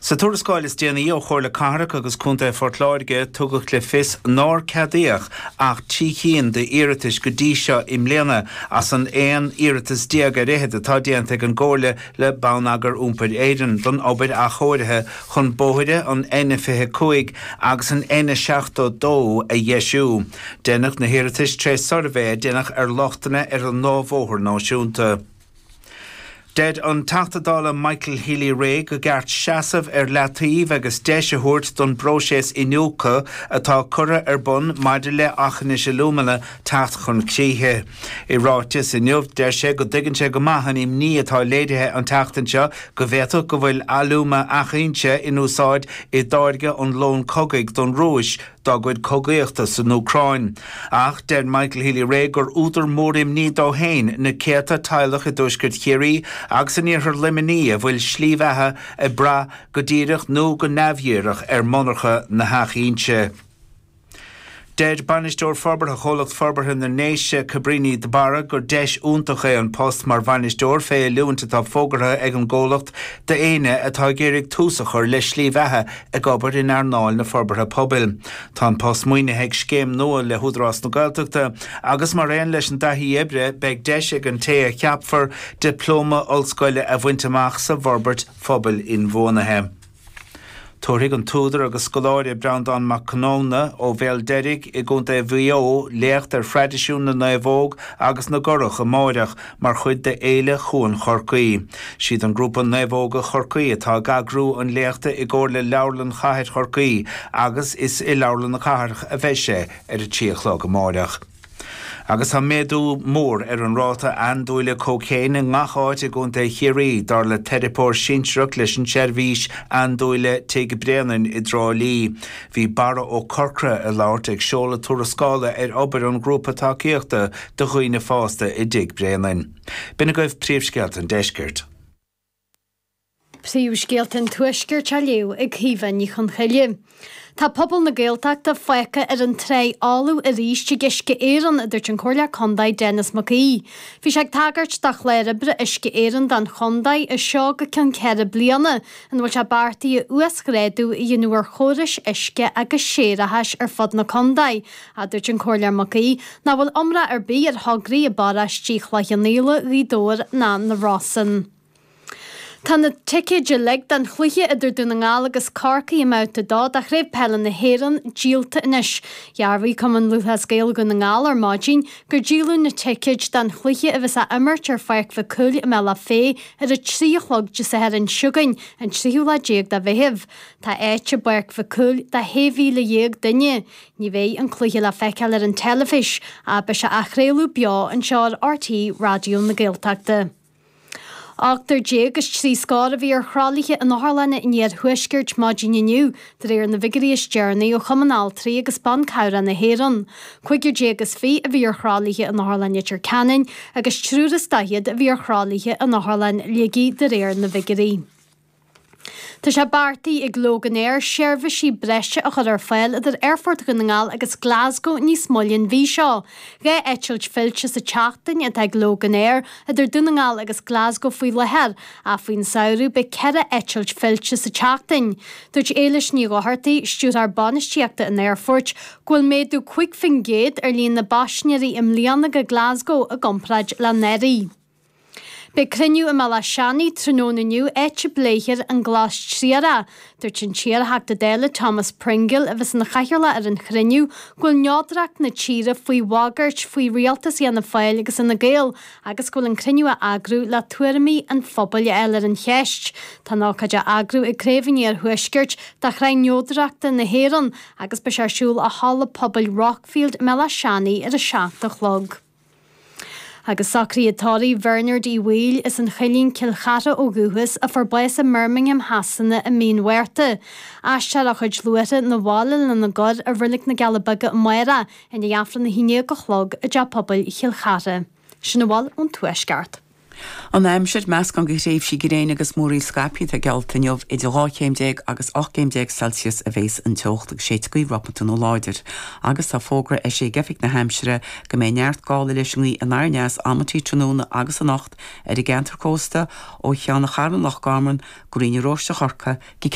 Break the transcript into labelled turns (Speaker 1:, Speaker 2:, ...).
Speaker 1: Sa tuarascáil is déanaí ó Chomhairle Cathrach agus Contae Phort Láirge, tugadh le fios nár ceadaíodh ach 3 chinn d'iarratais go dtí seo i mbliana as an 11 iarratas ar fhichead atá déanta ag an gComhairle le Bonneagar Iompair Éireann don obair athchóirithe chun bóithre an N25 agus an N72 a dheisiú. Deineadh na hiarratais tré suirbhé a deineadh ar lochtanna ar an dá bhóthar náisiúnta. Deir an Teachta Dála Michael Healy-Rae go gceart seasamh ar leataobh agus deis a thabhairt don bpróiseas iniúchadh atá curtha ar bun maidir le Aughinish Alumina teacht chun críche. I ráiteas inniu, deir sé go dtuigeann sé go maith an imní atá léirithe an tseachtain seo go bhféadfadh go bhfuil alúma Achainnse in úsáid i dtáirgeadh an lón cogaidh don Rúis dá gcuid cogaíochta san Úcráin. Ach deir Michael Healy-Rae gur údar mór imní dó féin na céadta teaghlach i dtuaisceart Chiarraí agus in iarthar Luimnigh a bhfuil slí bheatha ag brath go díreach nó go neamhdhíreach ar mhonarcha na hAchainnse. Deir Bainisteoir Forbartha Chomhlacht Forbartha na nDéise, Cabríní de Barra, gur deis iontach é an post mar bhainisteoir fé oiliúint atá fógartha ag an gcomhlacht d'éinne atá ag iarraidh tús a chur le slí bheatha ag obair in earnáil na forbartha pobail. Tá an post maoinithe ag scéim nua le hÚdarás na Gaeltachta agus mar aon leis an dtaithí oibre beidh deis ag an té a cheapfar dioplóma ollscoile a bhaint amach sa bhforbairt phobail inbhuanaithe. Tabharfaidh an t-údar agus scoláire Breandán Mac Conamhna ó Bhéal Deirg i gContae Mhaigh Eo léacht ar thraidisiún na naomhóg agus na gcurach amáireach mar chuid de Fhéile Chuan Chorcaí. Siad an grúpa Naomhóga Chorcaí atá ag eagrú an léachta i gcomhar le Leabharlann Chathair Chorcaí agus is i Leabharlann na Cathrach a bheidh sé ar a 3 a chlog amáireach. Agus tá méadú mór ar an ráta andúile cócaon i ngach áit i gContae Chiarraí, dar le teiripeoir sinsearach leis an tseirbhís andúile Tigh Bréanainn i dTrá Lí. Bhí Barra Ó Corcra ag labhairt ag seoladh tuarascála ar obair an ghrúpa tacaíochta do dhaoine fásta i dTigh Bréanainn. B'in agaibh príomhscéalta an deiscirt.
Speaker 2: Príomhscéalta an Tuaiscirt á léamh ag Caoimhe Ní Chonchoille. Tá pobal na Gaeltachta fágtha ar an tráigh fholamh arís ag Uisce Éireann, a dúirt an Comhairleoir Contae Denis Mac Aoidh. Bhí sé ag tagairt do chlár oibre Uisce Éireann don chontae as seo go ceann 4 bliana, ina bhfuil sé beartaithe uasghrádú a dhéanamh ar chórais uisce agus séarachais ar fud na contae. A dúirt an Comhairleoir Mac Aoidh nach bhfuil iomrá ar bith ar thograí i bparóistí Chloich Cheann Fhaola, Ghaoth Dobhair ná na Rosann. Tá na ticéid uilig don chluiche idir Dún na nGall agus Corcaigh i mBabhta 2 de Chraobh Peile na hÉireann díolta anois. Dhearbhaigh Cumann Lúthchleas Gael Dhún na nGall ar maidin gur díoladh na ticéid don chluiche a bheas á imirt ar Pháirc Mhic Cumhaill i mBealach Féich ar a 3 a chlog Dé Sathairn seo chugainn, an tríú lá déag de Mheitheamh. Tá áit i bPáirc Mhic Cumhaill do 16,000 duine. Ní bheidh an cluiche le feiceáil ar an teilifís ach beidh sé á chraoladh beo anseo ar RTÉ Raidió na Gaeltachta. Ochtar déag is trí scór a bhí ar thralaithe in otharlanna an iarthuaiscirt maidin inniu, de réir na bhfigiúirí is deireanaí ó Chumann Altraí agus Ban Cabhrach na hÉireann. Cúigear déag is fiche a bhí ar thralaithe in Otharlann Leitir Ceanainn agus triúr is daichead a bhí ar thralaithe in Otharlann Shligigh de réir na bhfigiúirí. Tá sé beartaithe ag Loganair seirbhísí breise a chur ar fáil idir Aerfort Dhún na nGall agus Glasgow níos moille an mhí seo. 2 eitilt fillte sa tseachtain atá ag Loganair idir Dún na nGall agus Glasgow faoi láthair, ach faoin samhradh beidh 4 eitilt fillte sa tseachtain. Dúirt Éilis Ní Dhochartaigh, Stiúrthóir Bainistíochta an Aerfoirt, go bhfuil méadú 5% ar líon na bpaisinéirí i mbliana go Glasgow i gcomparáid le anuraidh. Beidh cruinniú i mBéal Átha Seanaidh tráthnóna inniu áit a bpléifear an Glas Triarach. Dúirt an t-iar-Theachta Dála Thomas Pringle, a bheas ina chathaoirleach ar an chruinniú, go bhfuil neodracht na tíre faoi bhagairt faoi rialtas Fhianna Fáil agus Fhine Gael agus go bhfuil an cruinniú á eagrú le tuairimí an phobail a fháil ar an cheist. Tá an ócáid á eagrú ag Craobh an Iarthuaiscirt de Shraith Neodrachta na hÉireann agus beidh sé ar siúl i Halla Pobail Rockfield i mBéal Átha Seanaidh ar a 7 a chlog. Agus socruithe tórraimh Bhernard Uí Bhaoill as an Choillín, Cill Chartha ó dhúchas, a fuair bás i mBirmingham Shasana i mí an Mhárta. Aistreofar a chuid luaithre 'na bhaile lena gcur i Reilig na gCealla Beaga amárach i ndiaidh Aifreann 11 a chlog i dTeach Pobail Chill Chartha. Sin a bhfuil ón Tuaisceart.
Speaker 3: An aimsir, Meascán de thréimhsí gréine agus múraíl scaipthe atá geallta inniu. Idir 12 chéim agus 18 céim Celsius a bhéas an teocht agus séidfidh gaoth ropanta nó láidir. Agus tá fógra eisithe ag Oifig na hAimsire go mbeidh neart gála leis an ngaoth anoir aneas amantaí tráthnóna agus anocht ar an gceantar cósta ó Cheann an Chairn Loch Garman go Rinn na Róiste Chorcaí go.